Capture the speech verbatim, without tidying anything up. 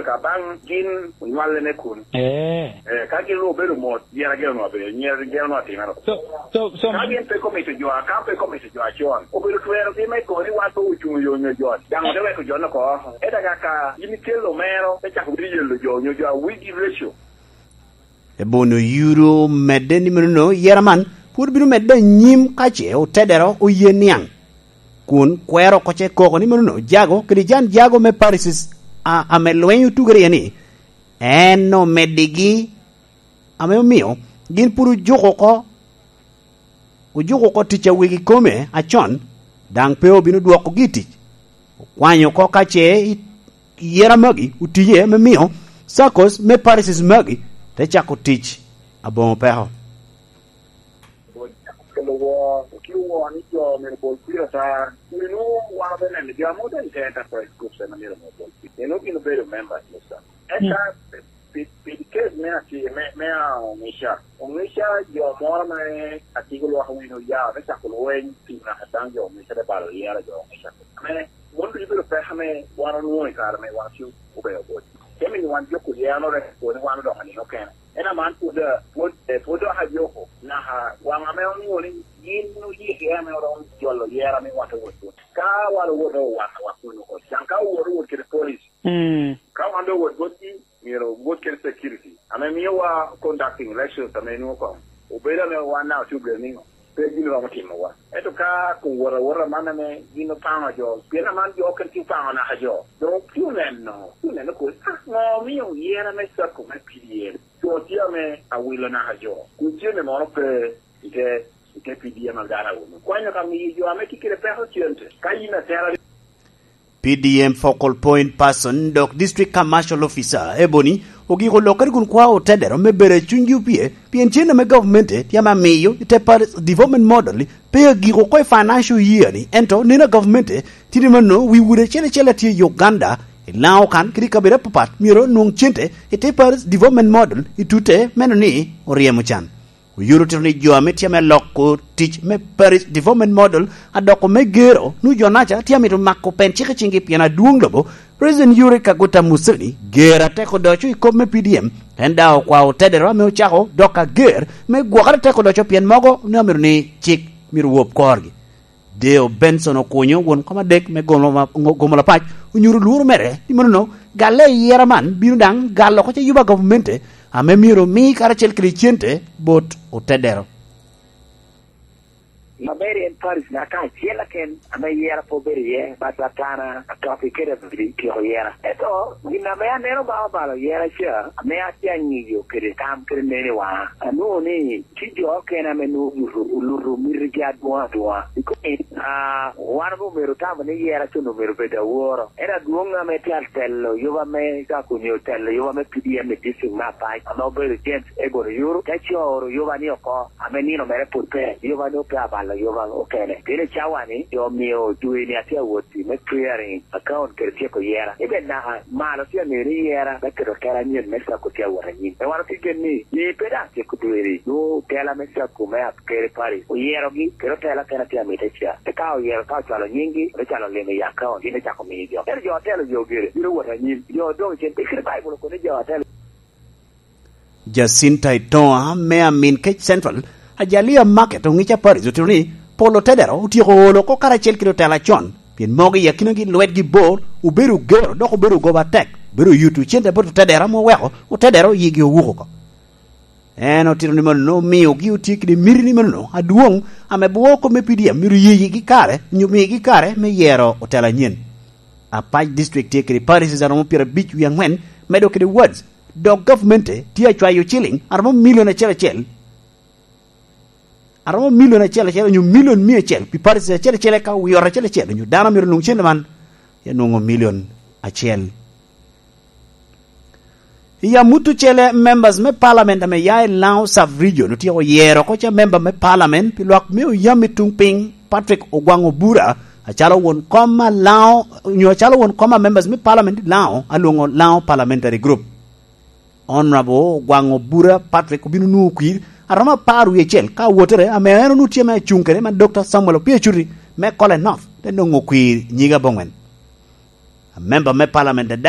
Abaŋ gin onywallene kun. Eh. Eh, ka gin ru obedo mot, yera gin onwa bedo, nyera gin onwa timero. So, so, so, ka gin pe komito jo, ka pe komito jo acon, obedo twero gi me koni wan pe ocuŋ yo nyo jo. Daŋ ote weko jo no ko. Eda ka, ka gin ikelo mero, te cako bino yelo jo nyo jo a wigi reco. Ebono Yuro medde ni menono yera man pwod bino medde anyim ka ce otedero oye niaŋ, kun kwero oko ce koko ni menono jago kede jan jago me Pharisees a, ame lweny otugere iye ni en omeddigi, ame omio gin pwod ojuko oko, ojuko oko tic a wegi kome acon, daŋ pe obino dwokogi i tic. Okwanyo oko ka ce i yera magi otiye me mio circles me Pharisees magi te cako tic aboŋo peko. Kelo woo, okelo woo ni jo myero bol kwir ata. Meno wan obe neno jo ame obedo i te enterprise groups ame myero obol kwir. Meno gin obedo members me circle. Eka pi, pi case me ati-, me, me a Ongeca. Ongeca jo moro ame atiko lwak wino ya, me cako lweny, pi naka daŋ jo Ongeca te balo yera jo Ongeca. Ame, mon ducu bedo peko ame wan onwoŋo i kare me wan tye obedo bot. Te miyo wan joko yeno rek, pwod wan odoko nino kene. En aman pwod, pwod, eh, pwod dok ajoko. Naka waŋ ame onwoŋo ni gin oyiki ame oromo jolo yera me wot owot. Ka wan owoto wan, wan kun oko. Can ka owoto owot kede police. Mm. Ka wan doŋ owot botgi, myero owot kede security ame miowa conducting elections ame nwoŋo koŋ obedo ame wan daŋ otye obino niŋo, pe gin romo timowa. Ento ka kun wot awota man ame gin opaŋo jo, pien aman jo okene tye opaŋo naka jo, doŋ otye oneno, otye oneno kodi, ah, ŋo omio yera me circle me P D M? Jo tye ame awilo naka jo, kun cente moro pe i te, i te P D M ame dano awilo. Kwanyo ka miyo jo ame tye kede peko cente, ka yin atera P D M focal point person dok district commercial officer Ebony ogiko lokere kun kwao otedero me bedo i cunygi opye, pien cen ame gavumenti tye ame amiyo i te Paris Development Model pe agiko oko i financial year ni, ento nino a gavumenti tye ni mano wi udi acel acel a tye i Uganda, i Laŋo kan kede i kabedo apapat myero onwoŋ cente i te Paris Development Model i tute meno ni oryemo can. Oyuto otito ni jo ame tye ame loko tic me Parish Development Model adoko me gero, nwoŋo jo-naca tye amito mako pen cik i ciŋgi pien adwoŋ lobo, President Yoweri Kaguta Museveni, ger atek odoco i kop me P D M, en daŋ okwao otedero ame ocako dok ager me gwokere atek odoco pien mogo ne omito ni cik myero wop korgi. Deo Benson Okunyo, won kom adek me Gomo, Gomo Lapac, onyuto lworo mere ni monono galle i yera man bino daŋ galo oko ce yuba gavumenti ame myero omi karacel kede cente bot otedero. Maber en Paris na ka acel aken ame yera pe obedo iye, but Atana, Atoki kede Abidi tyeko yera. Ento gin ame aneno ba obalo yera ca, ame atye angiyo kede tam kede nene wa, anwoŋo ni tye jo okene ame nwoŋo oluto, oluto mitigi adwoŋ adwoŋa. Because, ah, wan omero tamo ni yera con omero bed aworo. En adwoŋ ame tye atelo yuba me Kakunyo, telo yuba me P D M i district me Apac, ame obedo James Egon Oyuru, te coro yuba ni oko, ame nino mere pwod pe, yuba ni ope abalo yuba okene. Pien i cawa ni, jo omio dwe ni atye awot me clearing account kede tyeko yera. Ibe naka malo tye aŋeo ni yera me keto tela anyen me circle tye awot anyim. Pe wan otye gen ni, i pe daŋ tyeko dwe ni, nwoŋo tela me circle me Akere Parish oyerogi, kede otela kena tye amite ca. Eka oyero ka ocwalo nyinggi, me calo limo i account, gin ocako miyo jo. Ento jo otelo yo gire, bino wot anyim. Jo odoŋ cen, i kite Baibul okobo ni jo otelo. Jacinta Itoa me Amin Kec Central, Ajalia Market, Ongeca Parish, otito ni pol otedero otyeko olo oko karacel kede otela con, pien mogo i akinagi lwetgi bor, obedo ogero, dok obedo ogoba atek, obedo oyuto cente bot otedero ame oweko otedero yigi owuko oko. En otito ni mano omiogi otye kede miti ni mano adwoŋ, ame bwoko me P D M myero yigi kare, nyo migi kare me yero otela anyen. Apac District tye kede parishes aromo pyerabic wie aŋwen, medo kede wards, dok gavumenti tye acwayo ciliŋ aromo milion acel acel, aromo milion acel acel onyo milion mia acel pi parishes acel acel, eka wiot acel acel onyo dano myero onwoŋ cente man, ya nwoŋo milion acel. I amut ocele, members me parliament ame ya i Laŋo Sub Region otyeko yero oko ca member me parliament pi lwak me oyam i tuŋ piny, Patrick Ogwaŋ Obura, acalo won kom a Laŋo, onyo acalo won kom a members me parliament i Laŋo, alwoŋo Laŋo Parliamentary Group. Honorable Ogwaŋ Obura Patrick obino nwoŋo kwir aromo apar wie acel ka awotere ame en onwoŋo tye me acuŋ kede man Doctor Samuel Opio Acuti me Kole North, te nwoŋo kwir nyige aboŋwen. Member me parliament daŋ